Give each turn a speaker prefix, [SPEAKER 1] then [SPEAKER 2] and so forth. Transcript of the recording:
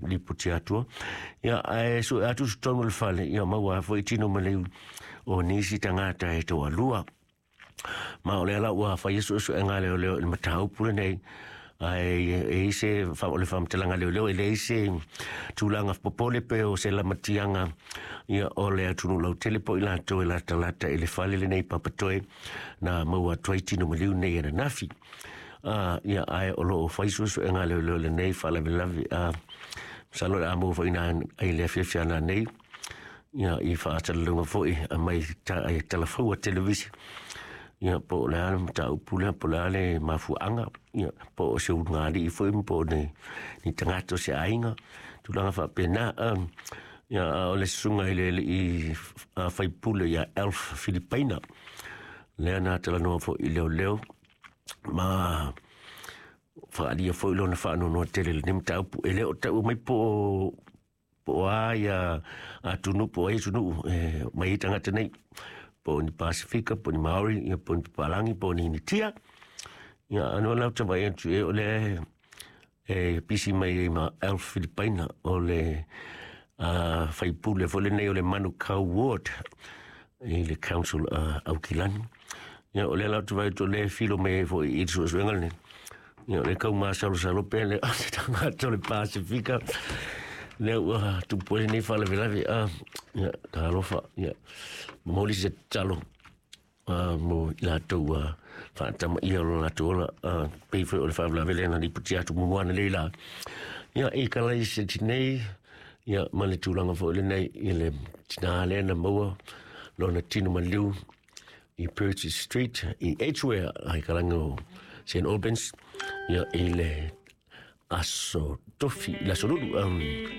[SPEAKER 1] lipoti atua. Ia, ae sue atu i totonu o le fale, ia maua ai foi tino maliu o nisi tagata e toalua. Ma o lea la ua faia suesuega a leoleo i le mataupu lenei, ae e i se o le faamatalaga a leoleo e leai se tulaga popole pe o se lamatiaga ia o le atunuu lautele po o i latou e latalata i le fale lenei papatoe na maua atu ai tino maliu nei ananafi. Ia, ae o lo o fai suesuega a leoleo lenei faalavelave. Masalo o le a maua foi ina ai le afiafi ana nei ia i faasalalauga foi mai talafaua televisi ia po o le a le mataupu lea, po o le a le mafuaaga, ia po o se ulugalii foi po o ni tagata o se aiga, tulaga faapena. Ia a o le susuga i le alii faipule ia Elf Filipaina lea na talanoa foi i leoleo ma faaalia foi lona faanoanoa tele i lenei mataupu. E le o taua mai po o a ia atunuu, po o ai atunuu e mai ai tagata nei, po o ni Pasifika, po o ni Maori, ia po o ni Papalangi, po o ni Initia. Ia ano lau te vaai atu e o le e pisi mai ai ma Elf Filipaina o le faipule foi lenei o le Manukau Ward i le Council Aukilani. Ia o lea lau te vaai atu o lea e filo mai ai foi i le suesuega lenei. Ia o le kau masalosalo pea le o se tagata o le Pasifika lea ua tupu ai lenei faalavelave. Ia, talofa, ia, momoli se tatalo mo i latou ua faatamaia o lo latou ola, pei foi o le faalavelave lea na lipotia atu muamua analeila la. Ia, i kalai se tinei, ia, ma le tulaga foi lenei i le tinā lea na maua lona tino maliu i Purchase Street i Edgware, ai kalagi o St. Albans, ia, i le aso tofi, i le aso lulu.